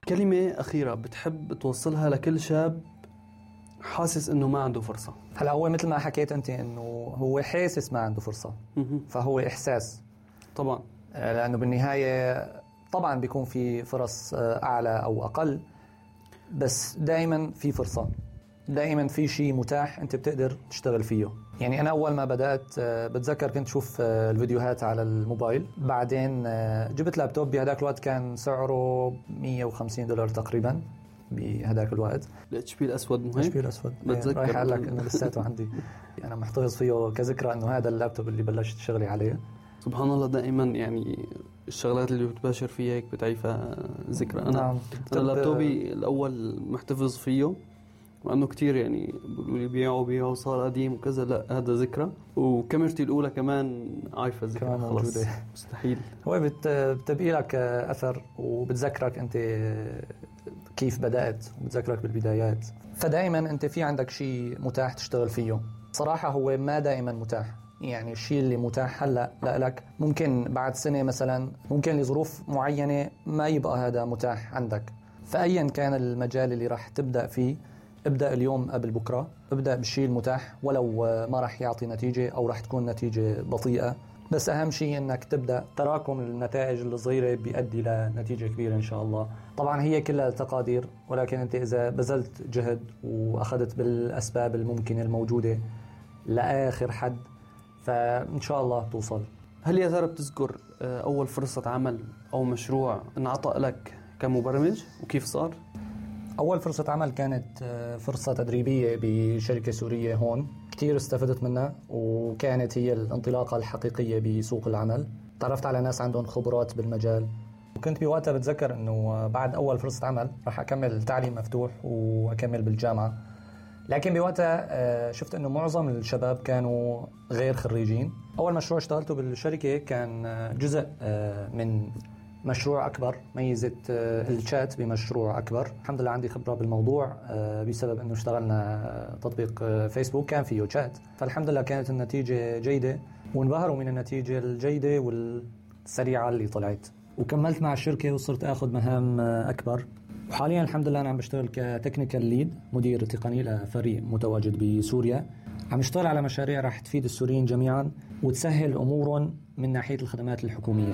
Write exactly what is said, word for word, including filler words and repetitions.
كلمة أخيرة بتحب توصلها لكل شاب حاسس إنه ما عنده فرصة؟ هلا هو مثل ما حكيت أنت إنه هو حاسس ما عنده فرصة، فهو إحساس طبعا، لأنه بالنهاية طبعا بيكون في فرص أعلى أو أقل، بس دائما في فرصة، دائما في شيء متاح أنت بتقدر تشتغل فيه. يعني أنا أول ما بدأت بتذكر كنت شوف الفيديوهات على الموبايل، بعدين جبت لابتوب بهداك الوقت كان سعره مية وخمسين دولار تقريبا بهداك الوقت. الاتش بي الأسود مهم؟ الاتش بي الأسود بتذكر رايح أقول لك إنه لساته عندي، أنا محتفظ فيه كذكرى إنه هذا اللابتوب اللي بلشت شغلي عليه. سبحان الله، دائما يعني الشغلات اللي بتباشر فيها هيك بتعيفها ذكرى. أنا نعم. أنا لابتوبي الأول محتفظ فيه وأنه كتير يعني بيقولوا لي بيعوا بيعوا صار قديم وكذا، لا هذا ذكرى. وكاميرتي الأولى كمان عايفة ذكرى خلاص مستحيل. هو بت بتبقي لك أثر وبتذكرك أنت كيف بدأت وبتذكرك بالبدايات، فدائما أنت في عندك شيء متاح تشتغل فيه. صراحة هو ما دائما متاح، يعني الشيء اللي متاح هلأ لك ممكن بعد سنة مثلا ممكن لظروف معينة ما يبقى هذا متاح عندك. فأيا كان المجال اللي راح تبدأ فيه ابدأ اليوم قبل بكرة، ابدأ بالشيء المتاح ولو ما راح يعطي نتيجة أو راح تكون نتيجة بطيئة، بس أهم شيء أنك تبدأ. تراكم النتائج الصغيرة بيؤدي لنتيجة كبيرة إن شاء الله. طبعا هي كلها تقادير، ولكن أنت إذا بذلت جهد وأخذت بالأسباب الممكنة الموجودة لآخر حد فإن شاء الله توصل. هل يا ترى بتذكر أول فرصة عمل أو مشروع انعطى لك كمبرمج وكيف صار؟ أول فرصة عمل كانت فرصة تدريبية بشركة سورية هون، كتير استفدت منها وكانت هي الانطلاقة الحقيقية بسوق العمل. تعرفت على ناس عندهم خبرات بالمجال، وكنت بوقتها بتذكر أنه بعد أول فرصة عمل راح أكمل تعليم مفتوح وأكمل بالجامعة. لكن بوقتها شفت أنه معظم الشباب كانوا غير خريجين. أول مشروع اشتغلته بالشركة كان جزء من مشروع أكبر، ميزة الشات بمشروع أكبر. الحمد لله عندي خبرة بالموضوع بسبب أنه اشتغلنا تطبيق فيسبوك كان فيه شات، فالحمد لله كانت النتيجة جيدة وانبهروا من النتيجة الجيدة والسريعة اللي طلعت. وكملت مع الشركة وصرت أخذ مهام أكبر، وحاليا الحمد لله أنا عم بشتغل كتكنيكال ليد، مدير تقني لفريق متواجد بسوريا. عم اشتغل على مشاريع راح تفيد السوريين جميعا وتسهل أمورهم من ناحية الخدمات الحكومية.